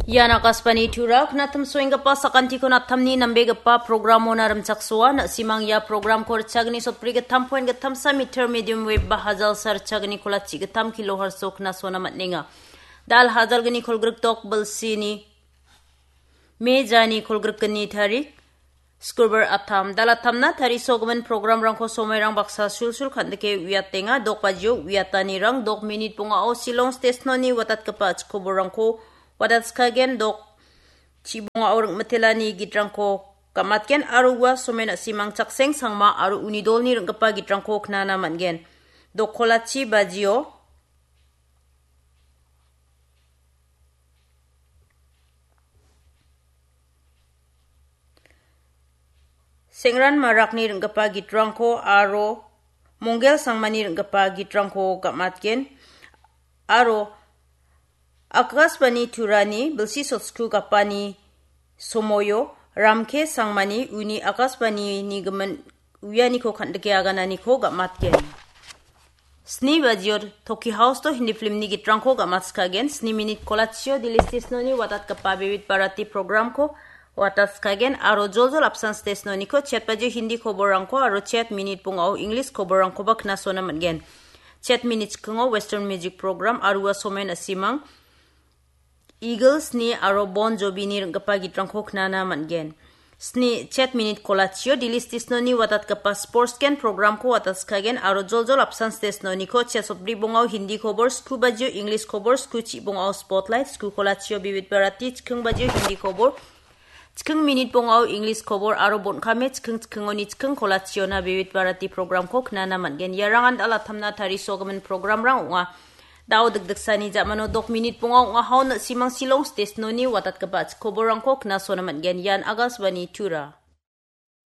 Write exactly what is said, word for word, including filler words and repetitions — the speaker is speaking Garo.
Ian Akashvani Tura, knatim soenggipa sakantikon attamni nambegipa programona rimchaksoa, na·simang ia programko richagni sotbri gittam point gittamsa meter medium wave ba hajalsa richagni kolachi gittam kilohertso knasona man·enga. Dal hajalgni kolgrik dok bilsini mejani kolgrikgni tarik, Skurbar attam, dal attamna tarisogimin programrangko somoirang baksa sulsul kan·dike uiatenga, dok bajio uiatanirang, dok minit bongao Shillong Station-oni watatgipa chikoborrangko watatskagen, dok chibongao ring·mitelani gitrangko gamatgen, aro ua somen a·simang chakseng sangma aro uni dolni ring·gipa gitrangko knana man·gen. Dok kolachi bajio Sengran Marakni ring·gipa gitrangko aro Monggel Sangmani ring·gipa gitrangko gamatgen, aro Akashvani Turani bilsi sotsku gapani somoio Ramke Sangmani uni Akashvanini gimin uianiko kan·dike agananiko gamatgen. Sni bajio Toki House-o Hindi filmni gitrangko gamatskagen, sni minit kolachio Delhi Station-oni watatgipa Vividh Bharati programko watatskagen, aro joljol apsan Station-oniko chet bajio Hindi koborrangko aro chet minit bongao English koborrangkoba knasona man·gen. Chet minit chikingo Western music program, aro ua somen a·simang Eagles-ni aro Bon Jovi-ni ring·gipa gitrangko knana man·gen. Sni chet minit kolachio Delhi Station-oni watatgipa Sports Gen programko watatskagen, aro joljol apsan Station-oniko chet sotbri bongao Hindi kobor, sku bajio English kobor, sku chi bongao Spotlight, sku kolachio Vividh Bharati, chiking bajio Hindi kobor, chiking minit bongao English kobor, aro bon·kame chiking chikingoni chiking kolachiona Vividh Bharati programko knana man·gen. Iarangan dal attamna tarisogimin programrang ong·a. Dao dikdiksani ja·mano dok minit bonga ong·a, haon na·simang Shillong Station-oni watatgipa chikoborrangko knasona man·gen. Ian Akashvani Tura.